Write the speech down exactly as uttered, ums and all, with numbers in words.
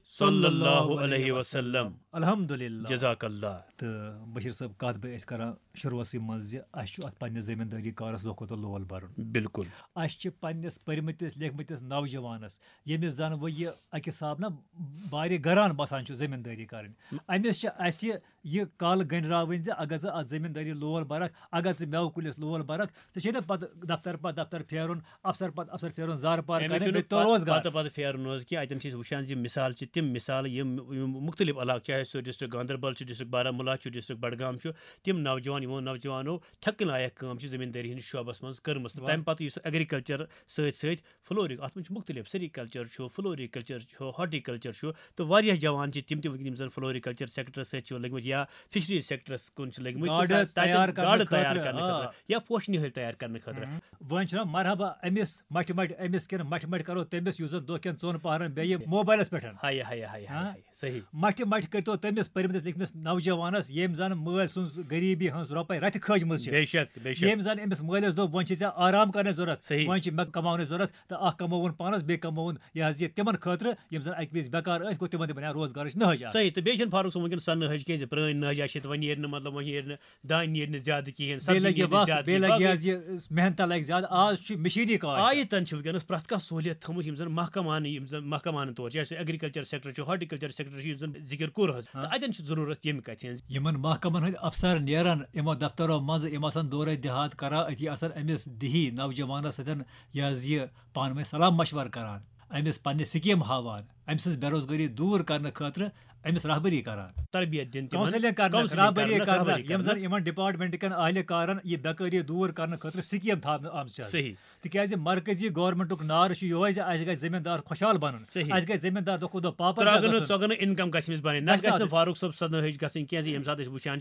صلی اللہ علیہ وسلم۔ الحمدللہ۔ جزاک اللہ۔ تہٕ بشیٖر صٲب، کَتھ بہٕ أسۍ کران شروٗعسٕے منٛز زِ اَسہِ چھُ اَتھ پننِس زٔمیٖندٲری کارَس دۄہ کھۄتہٕ دۄہ لول بَرُن۔ بِلکُل۔ اَسہِ چھِ پننِس پٔرمٕتِس لیکھمٕتِس نوجوانَس، ییٚمِس زَن وۄنۍ یہِ اَکہِ حساب نہ بارِ گران باسان چھُ زٔمیٖندٲری کَرٕنۍ، أمِس چھِ اَسہِ یہِ کَل گٔنٛڈراوٕنۍ زِ اگر ژٕ اَتھ زٔمیٖندٲری لول بَرَکھ، اگر ژٕ مٮ۪وٕ کُلِس لول بَرَکھ، ژےٚ چھے نہ پَتہٕ دفتر پَتہٕ دفتر پھیرُن، افسر پَتہٕ افسر پھیرُن، زارٕ پار أمِس کَرٕنۍ، چھُنہٕ بیٚیہِ تو پَتہٕ روزگار۔ پَتہٕ پَتہٕ پھیرُن حظ کینٛہہ۔ اَتٮ۪ن چھِ أسۍ وٕچھان زِ مِثال چھِ تِم مِثال یِم یِم مُختلِف علاقہٕ، چاہے سُہ ڈسٹرکٹ گاندربل چھُ، ڈسٹرکٹ بارہمولہ چھُ، ڈسٹرکٹ بڈگام چھُ، تِم نوجوان یِمو نوجوانو تھٮ۪کہٕ لایق کٲم چھِ زٔمیٖندٲری ہِنٛدِس شعبَس منٛز کٔرمٕژ۔ تہٕ واہ۔ تَمہِ پَتہٕ یُس اٮ۪گریکلچر سۭتۍ سۭتۍ فلوری، اَتھ منٛز چھُ مُختلِف، سیریکلچر چھُ، فلوری کلچر چھُ، ہارٹیکلچر چھُ، تہٕ واریاہ جوان چھِ تِم تہِ وٕنکیٚن یِم زَن فلوری کلچر سیکٹرس سۭتۍ چھِ لٔگۍ مٕتۍ یا فشری سیکٹرس کُن چھِ لٔگۍ مٕتۍ۔ تہٕ گاڈٕ تَتٮ۪ن تیار کرنہٕ گاڈٕ تیار خٲطرٕ، کرنہٕ آ۔ خٲطرٕ یا پوشہٕ نِہٲلۍ تیار کرنہٕ خٲطرٕ۔ وۄنۍ چھُنہ مرحبا أمِس مٹھِ مٹھِ، أمِس کِنہٕ مٹھِ مٹھِ کرو تٔمِس، یُس زن دۄہ کٮ۪ن ژۄن پہرن بیٚیہِ موبایلس پٮ۪ٹھ۔ ہاے ہاے ہاے ہاے ہاں؟ ہاے، صحیح۔ مٹھِ مٹھِ کٔرتو تٔمِس پٔرمٕتِس لیکھمٕتِس نوجوانس، ییٚمۍ زن مٲلۍ سٕنٛز غریبی ہٕنٛز رۄپے رتہِ کھٲجمٕژ چھِ۔ بے شک، بے شک۔ ییٚمۍ زن أمِس مٲلِس دوٚپ، وۄنۍ چھِ ژےٚ آرام کرنٕچ ضروٗرت، صحیح۔ وۄنۍ چھِ مےٚ کماونٕچ ضروٗرت، تہٕ اکھ کماوُن پانس، بیٚیہِ کماوُن یہِ حظ یہِ تِمن خٲطرٕ یِم زن اکہِ وِزِ بیکار ٲسۍ، گوٚو تِمن تہِ بنیٛاو روزگارٕچ نہج اکھ۔ صحیح۔ تہٕ بیٚیہِ چھِنہٕ فاروق صٲب وٕنکیٚن سۄ نہج کینٛہہ زِ پرٛٲنۍ نہج آسہِ، وۄنۍ نیرِ نہٕ، مطلب، وۄنۍ نیرِ نہٕ دانہِ نیرِ نہٕ زیادٕ کِہیٖنۍ، سبزی بیٚیہِ لگہِ نیرِ نہٕ وقت، زیادٕ بیٚیہِ کِہیٖنۍ۔ لگہِ باقٕے حظ یہِ محنتہ لگہِ زیادٕ۔ آز چھُ مِشیٖنی کار۔ آیہِ تن چھِ وٕنکیٚنَس پرٛٮ۪تھ کانٛہہ سہوٗلیت تھٲومٕژ، یِم زَن محکمہٕ یِم زَن محکمہٕ طور، چاہے سُہ ایگریکلچر سیکٹر چھُ، یُس زَن ذِکِر کوٚر حظ، ہاں۔ تہٕ اَتٮ۪ن چھِ ضروٗرت ییٚمہِ کَتھِ ہٕنٛز۔ یِمن محکمن ہٕنٛدۍ افسر نیران یِمو دفترو منٛزٕ، یِم آسان دورے دیہات کران، أتی آسان أمِس دِہی نوجوانس سۭتۍ یہِ حظ یہِ پانہٕ ؤنۍ صلاح مشورٕ کران، أمِس پننہِ سکیٖم ہاوان، أمۍ سٕنٛز بے روزگٲری دوٗر کرنہٕ خٲطرٕ أمِس رہبری کران۔ تربیت دِنہٕ تِمن، کاؤنسلنگ کرنہٕ، کاؤنسلنگ رہبری کرنہٕ، کرنہٕ، رہبری یِم زن کرنہٕ۔ یِمن ڈپارٹمنٹن کن اہلِ کارن یہِ بیکٲری دوٗر کرنہٕ خٲطرٕ سکیٖم تھاونہٕ آمژٕ چھِ۔ صحیح۔ تِکیازِ مرکزی گورنمنٹُک نعرٕ چھُ یِہوے زِ اَسہِ گژھِ زٔمیٖندار خۄشحال بَنُن، صحیح۔ اَسہِ گژھِ زٔمیٖندار دۄہ کھۄتہٕ دۄہ پاپر ترٛاوگہٕ نہٕ گژھُن۔ ژۄگہٕ نہٕ انکم گژھِ أمِس بنٕنۍ، نہ گژھِ گژھِ نہٕ آسٕنۍ۔ فاروق صٲب سَزنہٕ ہٕج گژھٕنۍ کینٛہہ زِ ییٚمہِ ساتہٕ أسۍ وٕچھان چھِ